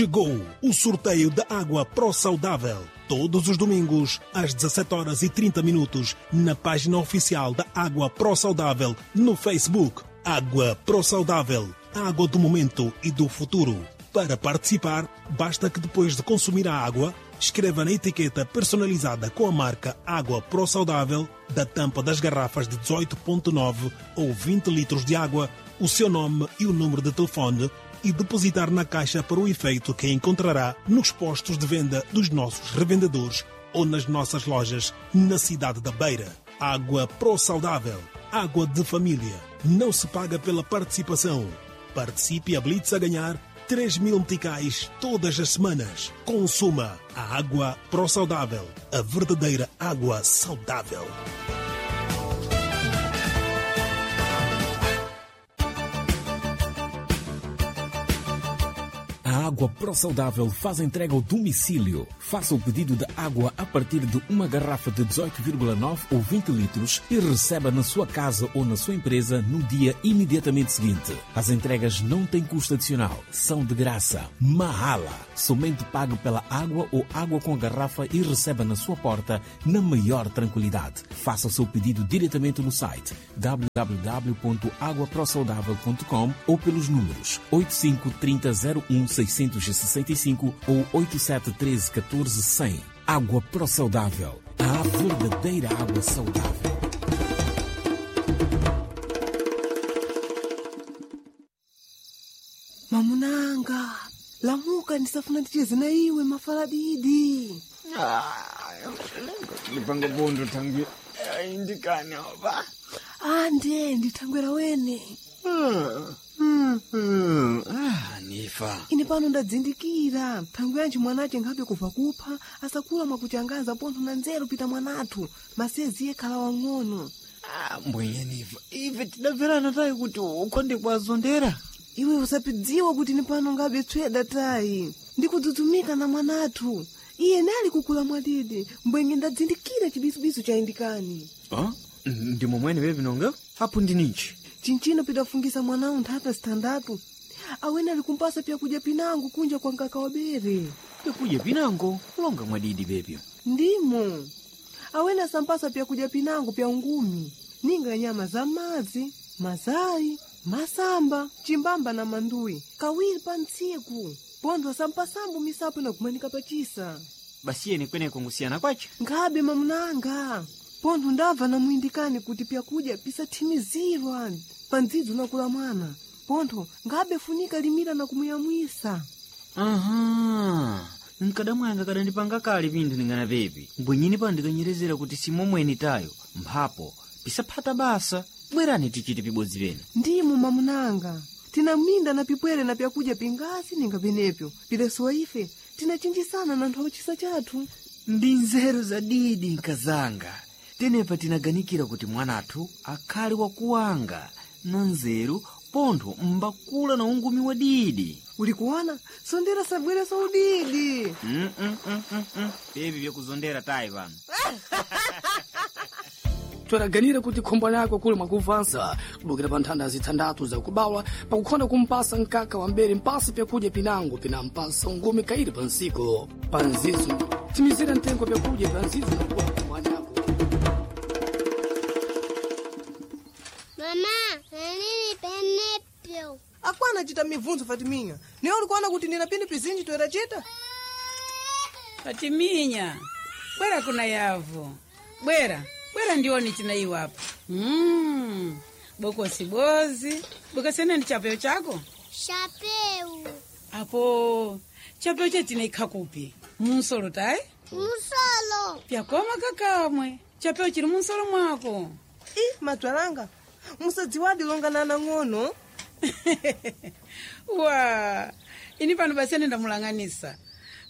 Chegou o sorteio da água Pro Saudável. Todos os domingos, às 17h30, na página oficial da Água Pro Saudável no Facebook. Água Pro Saudável, a água do momento e do futuro. Para participar, basta que depois de consumir a água, escreva na etiqueta personalizada com a marca Água Pro Saudável da tampa das garrafas de 18,9 ou 20 litros de água, o seu nome e o número de telefone e depositar na caixa para o efeito que encontrará nos postos de venda dos nossos revendedores ou nas nossas lojas na cidade da Beira. Água Pro Saudável, água de família. Não se paga pela participação. Participe a Blitz a ganhar 3 mil meticais todas as semanas. Consuma a água Pro Saudável, a verdadeira água saudável. A Água Pro Saudável faz entrega ao domicílio. Faça o pedido de água a partir de uma garrafa de 18,9 ou 20 litros e receba na sua casa ou na sua empresa no dia imediatamente seguinte. As entregas não têm custo adicional, são de graça. Mahala. Somente pague pela água ou água com a garrafa e receba na sua porta na maior tranquilidade. Faça o seu pedido diretamente no site www.aguaprosaudável.com ou pelos números 85 30 01 665 ou 87 13 14 100. Água Pro Saudável. A verdadeira água saudável. Mamunanga, lamuka ndisafuna ndicheze na iwe mafala didi. Ndipanga bondo tangi indikani oba. Ande ndithangwera wene. Ah, nifa. Ine pano ndadzindikira thangwe yanji mwanache nkhabe kubva kupha asakula mwakuchangaza pontho na nzeru pita mwanathu masezi yekhala wang'ono. Ah, mbwenye nifa. Ife tidabverana tayi kuti ukhonde kwazondera. Iwe usapidziwa kuti ni pano ngabe tsweda tayi ndikudzudzumika na mwanathu iye nali kukula mwadidi mbwenye ndadzindikira chibisubisu cha indikani. Ah, ndi momwene pepi nonga? Apo ndininji. Chinchino pidafungisa mwanawu nthata zitandatu awene ali kumpasa pyakudya pinango kunja kwa nkaka wa bere. Pyakudya pinango kulonga mwadidi pepyo. Ndimo awene asampasa pyakudya pinango pya ungumi ninga nyama za madzi mazayi masamba chimbamba na manduyi kawiri pa ntsiku pontho asampasambo misapo inakumanika pachisa. Basi yene kweneko ngusiyana kwacha. Nkhabe mamunanga pontho ndabva namuyindikani kuti pyakudya pisathimizirwa pa ndzidzi unakula mwana pontho nkhabe funika limira na kumuyamwisa. Aha. Nkadamwanga kadandipanga kale pinthu ningana pepi. Mbwenyini pano ndikanyerezera kuti simomweni tayo. Mphapo pisaphata basa. Bwerani tichite pibodzi pene. Ndimo mamunanga tinaminda na pipwere na pyakudya pingasi ninga penepyo pilesowa ife tinachinjisana na nthu chisa chathu. Ndi nzeru zadidi nkazanga. Tenepa tinaganikira kuti mwanathu akhale wakuwanga na nzeru pontho mbakula na ungumi wa didi. Uli kuona sondera sabwere saudidi. Mm, mm, mm, mm, mm. Pepi vyakuzondera tayi pano. Tweraganira kuti khombo lako kuli mwakuvansa kubukira pa nthanda zithandatu zakubawa pakukhonda kumpasa mkaka wa mbere mpasa pyakudya pinango pinampasa ungumi kairi pa nsiku pa nzizo timizira mtengo pyakudya pa nzizo nakuwa mwanako. Mama, nini penepyo? Akwana chita mibvunzo Fatiminya niwe ulikuona kuti ndina pini pizinji toerachita. Fatiminya, bwera kuna yavo. Bwera, bwera ndione china iwapo. Bokosi bozi. Bokosi ene ndi chapeo chako? Chapeu. Apo, chapeo chetina kupi? Munsolo tayi? Musolo. Pyakoma kakamwe. Chapeo chili munsolo mwako. I madzwalanga musadziwadi longana nang'ono. Wa, ini pano basi ene ndamulang'anisa.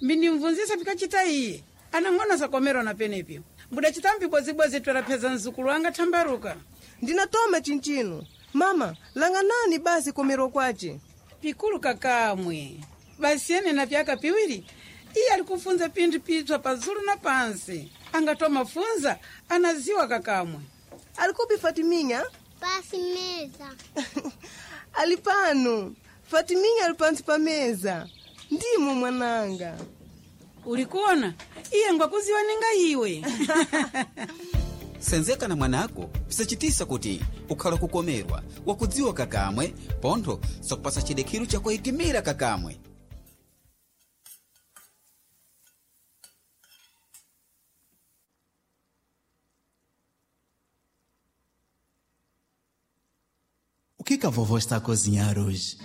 Mbindimvunzisa pikachita iye. Anang'ono sakomerwa na penepyo. Mbudachita mbibozibwazi twerapheza mzukulu wanga thambaruka. Ndinatoma chinchino mama langanani basi komerwa kwace. Pikulu kakamwe. Basi ene na vyaka piwiri iye ali kufunza pinthu pitswa pazulu na pansi. Angatoma funza anaziwa kakamwe. Alikupi Fatiminya? Pasi meza. Ali pano Fatiminya ali pansi pa meza. Ndimo mwananga. Ulikuona iye ngwakuziwa ninga iwe. Senzeka na mwanako pisachitisa kuti ukhala kukomerwa wakudziwa kakamwe pontho sakupasa chidekhiru chakuyitimira kakamwe. O que que a vovó está a cozinhar hoje?